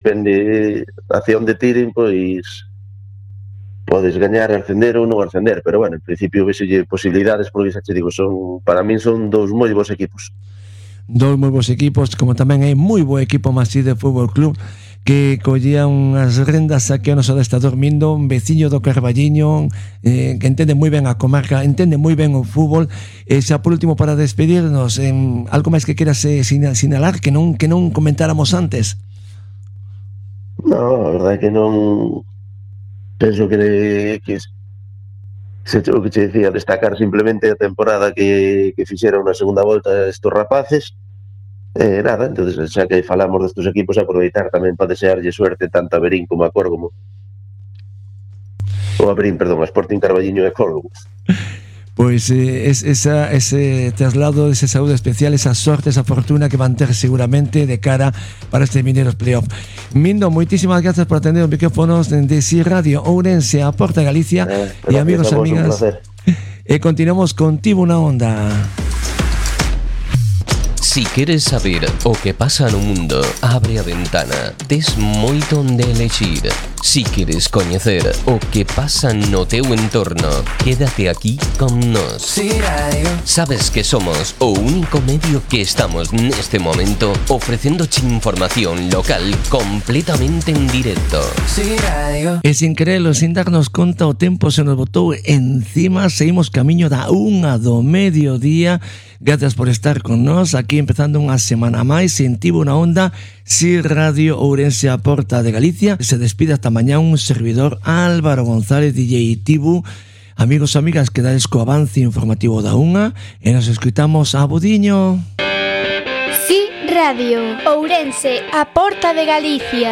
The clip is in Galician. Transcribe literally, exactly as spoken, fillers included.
depende hacia onde tiren, pois podes gañar, ascender ou non ascender, pero bueno, en principio vexelle posibilidades, porque xa te digo, son, para min son dous moi bons equipos. Dous moi bons equipos, como tamén hai moi bo equipo Maside Fútbol Club, que collía unhas rendas aquí ao noso adestrador Mindo, un veciño do Carballiño, eh, que entende moi ben a comarca, entende moi ben o fútbol. E xa por último, para despedirnos, en algo máis que queras eh, sinalar que non que non comentáramos antes? No, a verdade é que non penso que, que se o que che decía, destacar simplemente a temporada que, que fixeron na segunda volta estos rapaces. Eh, nada, entonces xa que falamos destes equipos, aproveitar tamén para desearlle suerte tanto a Verín como a Córdoba, ou a Verín, perdón, a Sporting Carballiño e Córdoba. Pois eh, es, esa, ese traslado, esa saúde especial, esa sorte, esa fortuna que van ter seguramente de cara para este mineiros playoff. Mindo, moitísimas grazas por atender os micrófonos de Si Radio Ourense, a Porta Galicia, eh, e amigos e amigas, e continuamos contigo na onda. Si queres saber o que pasa no mundo, abre a ventana, tes moito onde elexir. Si queres coñecer o que pasa no teu entorno, quédate aquí con nós. Si Radio. Sabes que somos o único medio que estamos neste momento ofrecéndoche información local completamente en directo. Si Radio. E sin querelo, sin darnos conta, o tempo se nos botou encima, seguimos camiño da unha do mediodía. Gracias por estar con nós, aquí empezando unha semana máis en Tivo na Onda, Si Radio Ourense, a Porta de Galicia. Se despide hasta mañá un servidor, Álvaro González, D J Tivo. Amigos e amigas, quedades co avance informativo da unha e nos escutamos a Budiño. Si Radio Ourense, a Porta de Galicia.